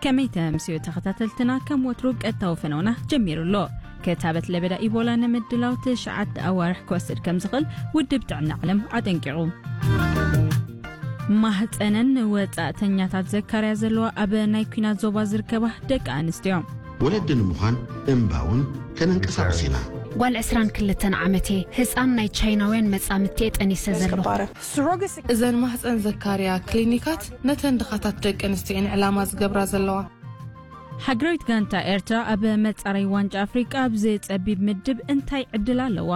ከመይ ተምስዮ ተኸታተልትና፣ ከም ወትሩ ቀጥታዊ ፈነውና ጀሚሩ ኣሎ። ክታበት ለበዳ ኢቦላ ንምድላው ትሽዓተ ኣዋርሕ ክወስድ ከም ዝኽእል ውድብ ጥዕና ዓለም ኣጠንቂቑ። ማህፀነን ንወፃእተኛታት ዘካርያ ዘለዋ ኣብ ናይ ኲናት ዞባ ዝርከባ ደቂ ኣንስትዮ። ወለዲ ንምዃን እምባውን ከነንቀሳቕስ ኢና። ጓል ዕስራን ክልተን ዓመት እየ። ህፃን ናይ ቻይናውያን መፃምድቲ እየ ጠኒሰ ዘለኹ። እዘን ማህፀን ዘካርያ ክሊኒካት ነተን ድኻታት ደቂ ኣንስትዮ እየን ዕላማ ዝገብራ ዘለዋ። ሃገራዊት ጋንታ ኤርትራ ኣብ መጻረይ ዋንጫ ኣፍሪቃ ኣብዚ ጸቢብ ምድብ እንታይ ዕድል ኣለዋ?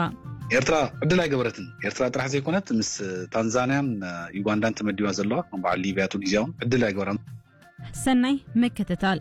ኤርትራ ዕድል ኣይገበረትን። ኤርትራ ጥራሕ ዘይኮነት፣ ምስ ታንዛንያን ዩጋንዳን ተመዲባ ዘለዋ፣ ከም በዓል ሊብያ፣ ቱኒዝያ እውን ዕድል ኣይገበራን። ሰናይ ምክትታል።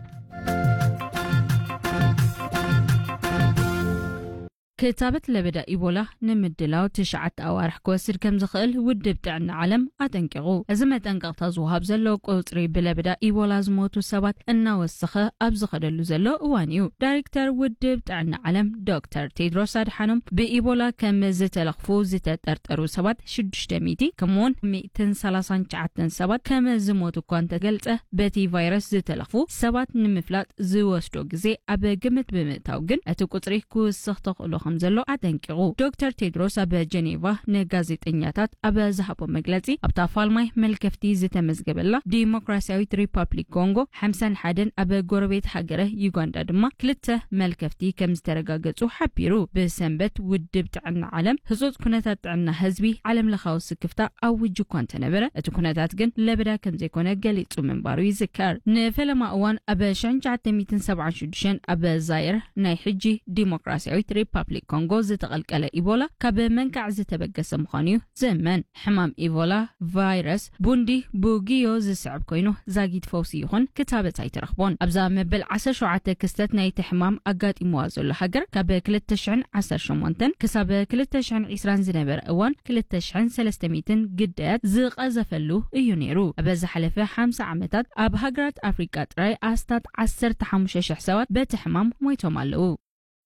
ክታበት ለበዳ ኢቦላ ንምድላው ትሽዓተ ኣዋርሕ ክወስድ ከም ዝኽእል ውድብ ጥዕና ዓለም ኣጠንቂቑ። እዚ መጠንቀቕታ ዝወሃብ ዘሎ፣ ቁጽሪ ብለበዳ ኢቦላ ዝሞቱ ሰባት እናወሰኸ ኣብ ዝኸደሉ ዘሎ እዋን እዩ። ዳይሬክተር ውድብ ጥዕና ዓለም ዶክተር ቴድሮስ ኣድሓኖም፣ ብኢቦላ ከም ዝተለኽፉ ዝተጠርጠሩ ሰባት ሽዱሽተ ሚእቲ፣ ከምኡውን ሚእትን ሰላሳን ትሽዓተን ሰባት ከም ዝሞቱ እኳ እንተገልጸ፣ በቲ ቫይረስ ዝተለኽፉ ሰባት ንምፍላጥ ዝወስዶ ግዜ ኣብ ግምት ብምእታው ግን፣ እቲ ቁጽሪ ክውስኽ ተኽእሎ ከም ዘሎ ኣጠንቂቑ። ዶክተር ቴድሮስ ኣብ ጀኔቫ ንጋዜጠኛታት ኣብ ዝሃቦ መግለጺ፣ ኣብታ ፋልማይ መልከፍቲ ዝተመዝገበላ ዲሞክራሲያዊት ሪፓብሊክ ኮንጎ ሓምሳን ሓደን፣ ኣብ ጎረቤት ሃገረ ዩጋንዳ ድማ ክልተ መልከፍቲ ከም ዝተረጋገጹ ሓቢሩ። ብሰንበት ውድብ ጥዕና ዓለም ህጹጽ ኩነታት ጥዕና ህዝቢ ዓለም ለኻዊ ስክፍታ ኣዊጁ እኳ እንተነበረ፣ እቲ ኩነታት ግን ለበዳ ከም ዘይኮነ ገሊጹ ምንባሩ ይዝከር። ንፈለማ እዋን ኣብ ሽሕን ትሽዓተ ሚእትን ሰብዓን ሽዱሽተን ኣብ ዛይር፣ ናይ ሕጂ ዲሞክራሲያዊት ሪፓብሊክ ኮንጎ ዝተቐልቀለ ኢቦላ ካብ መንካዕ ዝተበገሰ ምዃኑ እዩ ዝእመን። ሕማም ኢቦላ ቫይረስ ቡንዲ ቡጊዮ ዝስዕብ ኮይኑ፣ ዛጊት ፈውሲ ይኹን ክታበት ኣይተረኽቦን። ኣብዛ መበል ዓሰርተ ሸውዓተ ክስተት ናይቲ ሕማም ኣጋጢምዋ ዘሎ ሃገር፣ ካብ ክልተ ሽሕን ዓሰርተ ሸሞንተን ክሳብ ክልተ ሽሕን ዕስራን ዝነበረ እዋን፣ ክልተ ሽሕን ሰለስተ ሚእትን ግዳያት ዝቐዘፈሉ እዩ ነይሩ። ኣብ ዝሓለፈ ሓምሳ ዓመታት ኣብ ሃገራት ኣፍሪቃ ጥራይ ኣስታት ዓሰርተ ሓሙሽተ ሽሕ ሰባት በቲ ሕማም ሞይቶም ኣለዉ።